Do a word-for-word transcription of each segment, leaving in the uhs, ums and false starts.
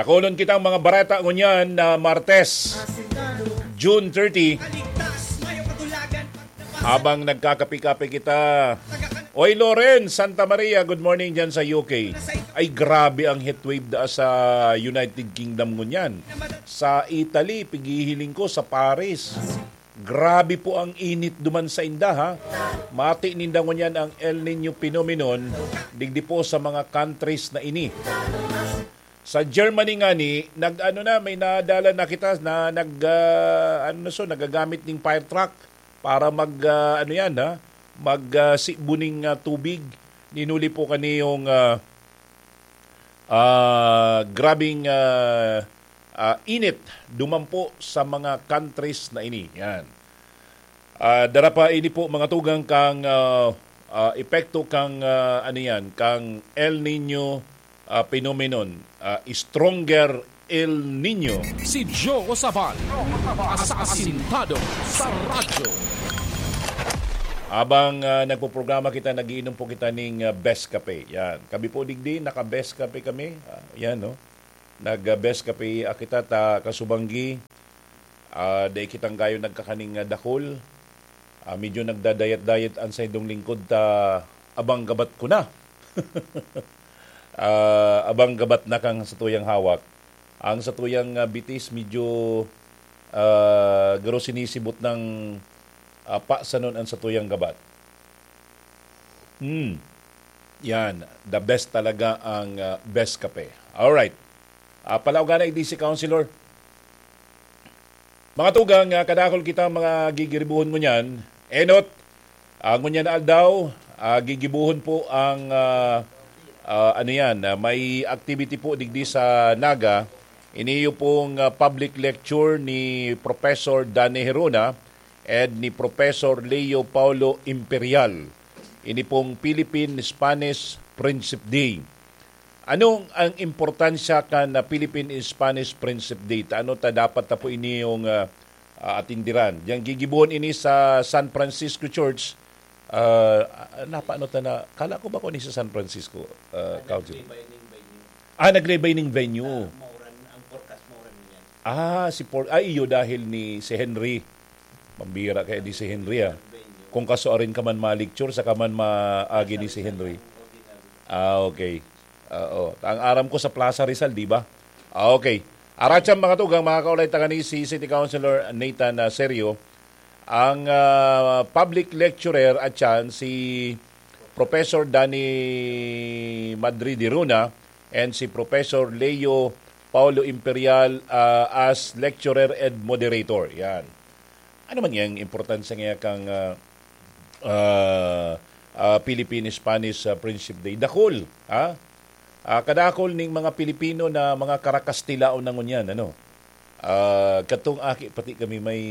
Dakulon kitang mga bareta ngunyan na Martes, June thirty. Habang nagkakape-kape kita, Oy, Loren, Santa Maria, good morning dyan sa U K. Ay, grabe ang heatwave da sa United Kingdom ngunyan. Sa Italy, pighihiling ko, sa Paris. Grabe po ang init duman sa inda, ha? Mati ninda ngunyan ang El Nino phenomenon, digdi po sa mga countries na ini. Sa Germany ngani, nag-ano na, may nadala na kita na nag, ah, ano na so, nagagamit ning fire truck para mag, ah, ano yan, ha? Mag, ah, sibuning, ah, tubig. Ninuli po kaniyong, ah, ah, grabing, ah, ah, init duman po sa mga countries na ini. Yan. Ah, dara pa ini po mga tugang kang, ah, ah, epekto kang, ah, ano yan, kang El Nino, ah, phenomenon, ah, stronger El Nino. Si Joe Sabal, asasintado sa radyo. Habang, ah, nagpoprograma kita, nagiinom po kita ning, ah, Best Kape. Yan. Kami po digdi, naka-Best Kape kami. Ah, yan, no? Nag-Best Kape, ah, kita ta kasubanggi. Ah, dai kitang gayo nagkakaning, ah, dakul. Ah, medyo nagdadayat-dayat an saindong lingkod ta abang gabat ko na. Ah, abang gabat na kang satuyang hawak. Ang satuyang, ah, bitis medyo, ah, garo sinisibot ng, ah, pasanon ang satuyang gabat. Hmm. Yan, the best talaga ang, ah, Best Kape. Alright. Ah, palaugan na, D C Councilor. Mga tugang, ah, kadakol kita mga gigiribuhon ngunyan. Enot, ah, ngunyan na aldaw, ah, gigibuhon po ang, ah, ah, ano yan, ah, may activity po digdi sa Naga. Iniyo pong, ah, public lecture ni Professor Danny Herona and ni Professor Leo Paulo Imperial. Ini pong Philippine-Spanish Friendship Day. Anong ang importansya kan, ah, Philippine-Spanish Friendship Day? Ta ano ta dapat ta po ini yung, ah, ah, atindiran? Yang gigibuhon ini sa San Francisco Church. Ah, ah, napaano ta na? Kala ko ba ko ni sa San Francisco, ah, Council? Ah, nag-rebining venue. Ah, nag-rebining venue. Ah, mauran, ang forecast mauran niyan. Ah, si Por-, ay, iyo dahil ni si Henry. Mambira kaya di si Henry, ah. Kung kasuarin ka man ma-lecture, saka man maagi ni si Henry. Ah, okay. Oo. Ang aram ko sa Plaza Rizal, di ba? Ah, okay. Aratyan, mga tugang, mga kaulay, tagani si City Councilor Nathan, ah, Serio. Ang, ah, public lecturer at yan, si Professor Danny Madrid Diruna and si Professor Leo Paulo Imperial, ah, as lecturer and moderator. Yan. Ano man yang importansya nga kang, ah, ah, ah, Philippine-Spanish, ah, Friendship Day? Dakul, ha? Ah, kadakul ning mga Pilipino na mga karakastilaon na ngunyan, ano? Ah, katong aki, pati kami may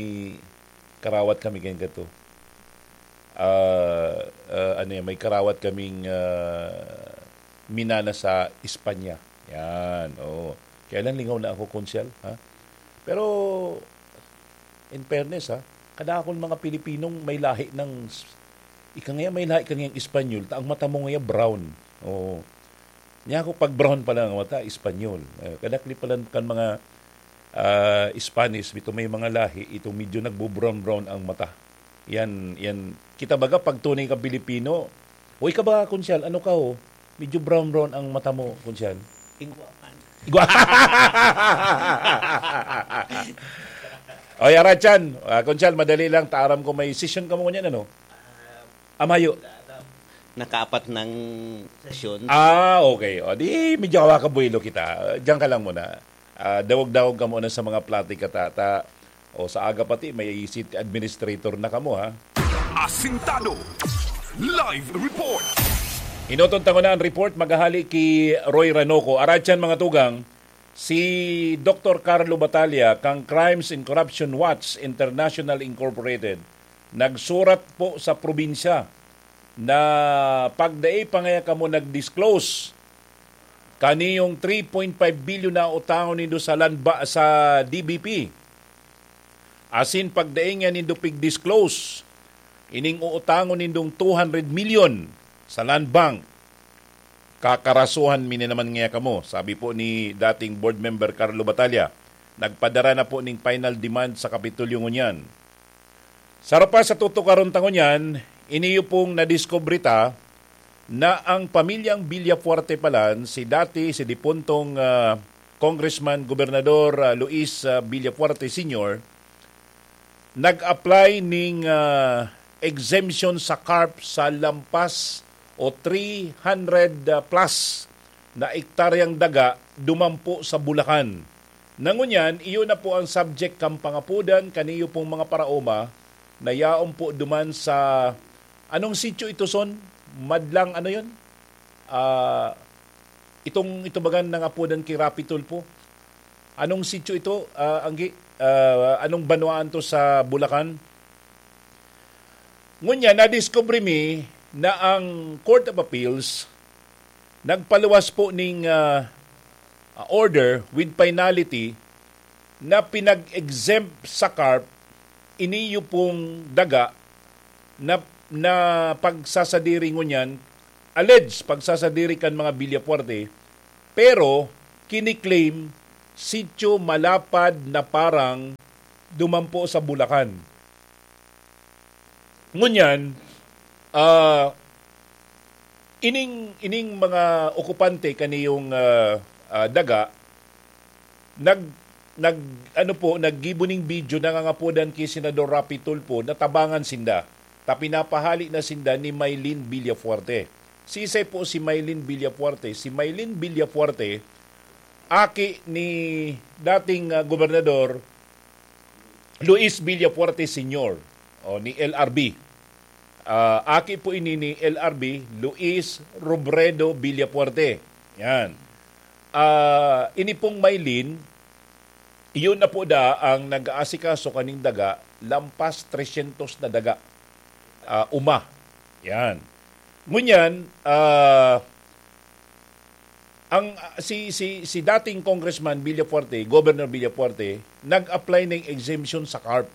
karawat kami kayong kato. Ah, ah, ano yan, may karawat kaming, ah, minana sa Espanya. Yan, oo. Kaya lang lingaw na ako, Konsyal, ha? Pero, in fairness, ha, kadakul mga Pilipinong may lahi ng, ika nga may lahi kang Espanyol, ta ang mata mo nga brown. Oo. Niya ako, pag brown pa lang ang mata, Espanyol. Eh, kadakli pa lang kan mga, ah, Spanish, ito may mga lahi, itong medyo nagbo-brown-brown ang mata. Yan, yan. Kita baga, pag tunay ka Pilipino, o ika ba, Konsyal, ano ka, oh? Medyo brown-brown ang mata mo, Konsyal. Igwa. Oy, Arachan, ah, Konsyal, madali lang. Taaram ko may session ka mo ngunyan, ano? Ah, mayo. Nakaapat ng sesyon. Ah, okay. O, di, medyo hawakabuelo kita. Diyan ka lang muna. Ah, dawag-dawag ka muna sa mga platika, tata. O, sa aga pati, may city administrator na kamo, ha? Asintado. Live report. Inutong tango na ang report, maghahali ki Roy Ranoco. Aratyan, mga tugang, si Doktor Carlo Batalla, kang Crimes and Corruption Watch International Incorporated, nagsurat po sa probinsya na pagdai pa ngaya kamo nag-disclose kaniyong three point five billion na utangon nindo sa land ba-, sa D B P. Asin pagdai nga nindo pig-disclose ining uutangon nindong two hundred million sa Land Bank. Kakarasuhan mi na naman ngaya kamo, sabi po ni dating board member Carlo Batalla. Nagpadara na po ning final demand sa Kapitolyo ngunyan. Sa pa sa tutukaron ta ngunyan, iniyo pong nadiskubre ta na ang pamilyang Villafuerte palan, si dati, si dipuntong, ah, Congressman Gobernador, ah, Luis, ah, Villafuerte Senior, nag-apply ning, ah, exemption sa CARP sa lampas o three hundred plus na ektaryang daga dumampo sa Bulacan. Nangunyan, iyo na po ang subject kan pangapodan kaniyo pong mga paraoma na yaon po duman sa, anong sitio ito, Son? Madlang ano yun? Ah, itong, ito bagan nangapodan ki Rapi Tulfo. Anong sitio ito, ah, Anggi? Ah, anong banwaan to sa Bulacan? Ngunyan, nadiskubre mi na ang Court of Appeals nagpaluwas po ning, ah, order with finality na pinag-exempt sa CARP iniyo pong daga na, na pagsasadiri ngunyan, alleged pagsasadiri kan mga Villafuerte, pero kiniklaim sitio malapad na parang dumampo sa Bulacan. Ngunyan, ah, ining, ining mga okupante kaniyong, ah, ah, daga, nag-, nag-, ano po, naggibo ning video, nangangapodan ki Senador Rapi Tulfo na tabangan sinda. Ta pinapahali na sinda ni Mylene Villafuerte. Sisay po si Mylene Villafuerte? Si Mylene Villafuerte, aki ni dating, ah, gobernador Luis Villafuerte Senior, o ni L R B. Ah, aki po ini ni L R B, Luis Robredo Villafuerte. Yan. Ah, ini pong Mylene, iyon na po da ang nag-aasikaso kaning daga, lampas tresyentos na daga, ah, uma. Yan. Ngunyan, ah, ang, ah, si, si, si dating Congressman Villafuerte, Governor Villafuerte, nag-apply ng exemption sa CARP.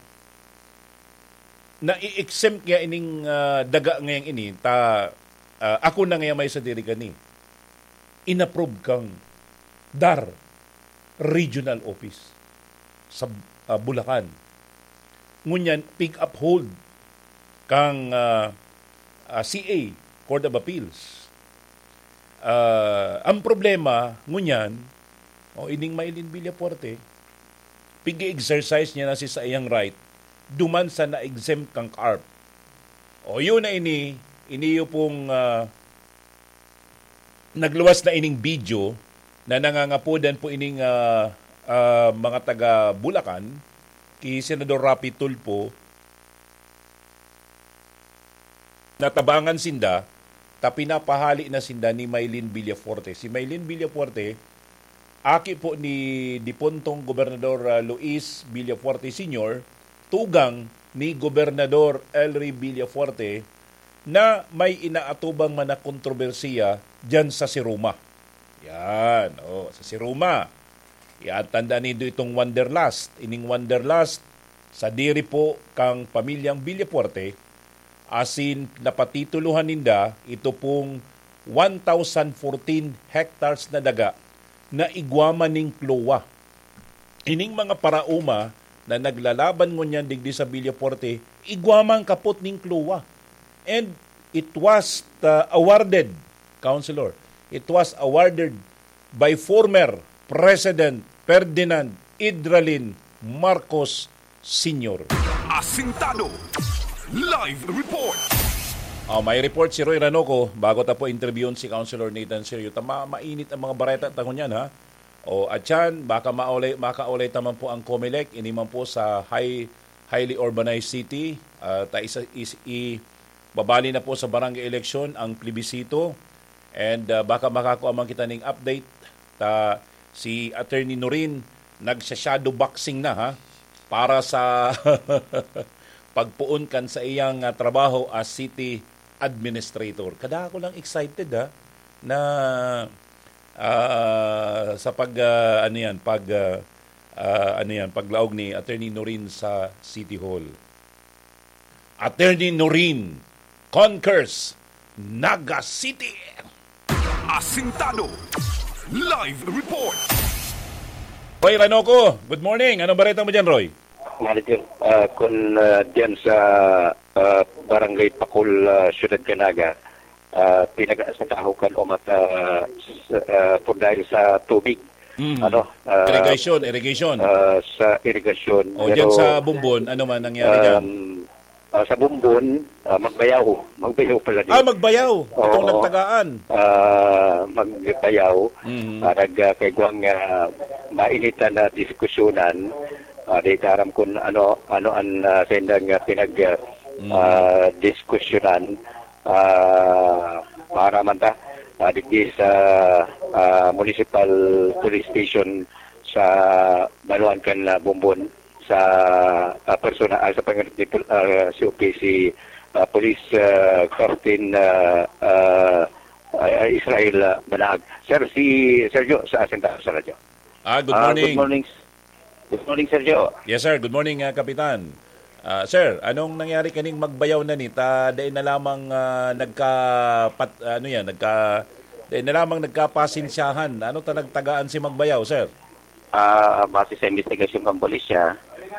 Na i-exempt niya ining, ah, daga ngayang ini, ta, ah, ako na ngaya may sadiri kani. Inapprove kang DAR Regional Office sa, ah, Bulacan. Ngunyan, pig-uphold kang, ah, ah, C A, Court of Appeals. Ah, ang problema, ngunyan, o ining Mylene Villafuerte, pig-exercise niya na si saiyang right, duman sa na-exempt kang CARP. O yun na ini, iniyo pong, ah, nagluwas na ining video na nangangapodan po ining, ah, ah, mga taga Bulacan, ki Senador Rapi Tulfo, natabangan sinda, ta pinapahali na sinda ni Mylene Villafuerte. Si Mylene Villafuerte, aki po ni dipuntong Gobernador, ah, Luis Villafuerte Senior, tugang ni Gobernador Elry Villafuerte, na may inaatubang man na kontrobersiya diyan sa Siruma. Yan, oh, sa Siruma. Yan, tanda nindo itong Wanderlust. Ining Wanderlust, sadiri po kang pamilyang Villafuerte, asin napatitulohan ninda ito pong one thousand fourteen hectares na daga na igwa man ning CLOA. Ining mga paraoma na naglalaban ngunyan digdi sa Villafuerte, igwa man kapot ning CLOA. And it was, uh, awarded, Councilor, it was awarded by former President Ferdinand Idralin Marcos Senior. Asintado. Live report. Ah, may report si Roy Ranoco bago ta po interviewon si Councilor Nathan Serio. Tama, mainit ang mga bareta ta ngunyan, ha? O, at yan, baka maulay, makaulay taman po ang Comelec, ini man po sa high, highly urbanized city. Ah, ta isa, is, i, babali na po sa barangay election ang plebisito. And, ah, baka makakua man kita ning update. Ta, si Attorney Norin, nagsha-shadow boxing na, ha? Para sa pagpoon kan sa iyang, ah, trabaho as city administrator. Kadako lang excited, ha? Na, ah, sa pag, ah, ano yan, pag, ah, ah, ano yan, paglaog ni Attorney Norin sa City Hall. Attorney Norin conquers Naga City. Asintado. Live report. Roy Ranoco, good morning. Anong bareta mo dyan, Roy? Manager, ah, kun, ah, diyan sa, ah, Barangay Pakul, ah, Siyudad Canaga, ah, pinag-aasakaho kan umat, ah, sa, ah, por dahil sa tubig. Mm. Ano, ah, Irrigation, irrigation. Ah, sa irigasyon. O, Pero, dyan sa Bumbon, ano man nangyari dyan? Um, ah, sa Bumbon, ah, Magbayaw. Magbayaw pala din. Ah, Magbayaw. Itong Oo. nagtagaan. Ah, Magbayaw. Mm. Ah, nag, ah, kay Guang, ah, mainitan na diskusyonan. Ah, di ta aram kung ano, ano ang, ah, sendang, ah, pinag, ah, Mm. ah, diskusyonan. Ah, para man ta, ah, digdi sa, ah, Municipal Police Station sa Banwaan kan, ah, Bumbon sa, ah, persona, ah, sa pangalan ni Pol-, ah, C O P si, ah, Police, ah, Captain, ah, ah, ah, Israel, ah, Banaag. Sir, si Sergio sa Asintado sa Radyo. Ah, good Ah, morning. Good morning. Good morning, Sergio. Yes, sir. Good morning, ah, Kapitan. Ah, sir, anong nangyari kaning Magbayaw na ni? Ta, dai na lamang, ah, nagka-, pat-, ano yan, nagka-, dai na lamang nagkapasensyahan. Ano ta nagtagaan si Magbayaw, sir? Ah, base sa investigasyon ng pulisya,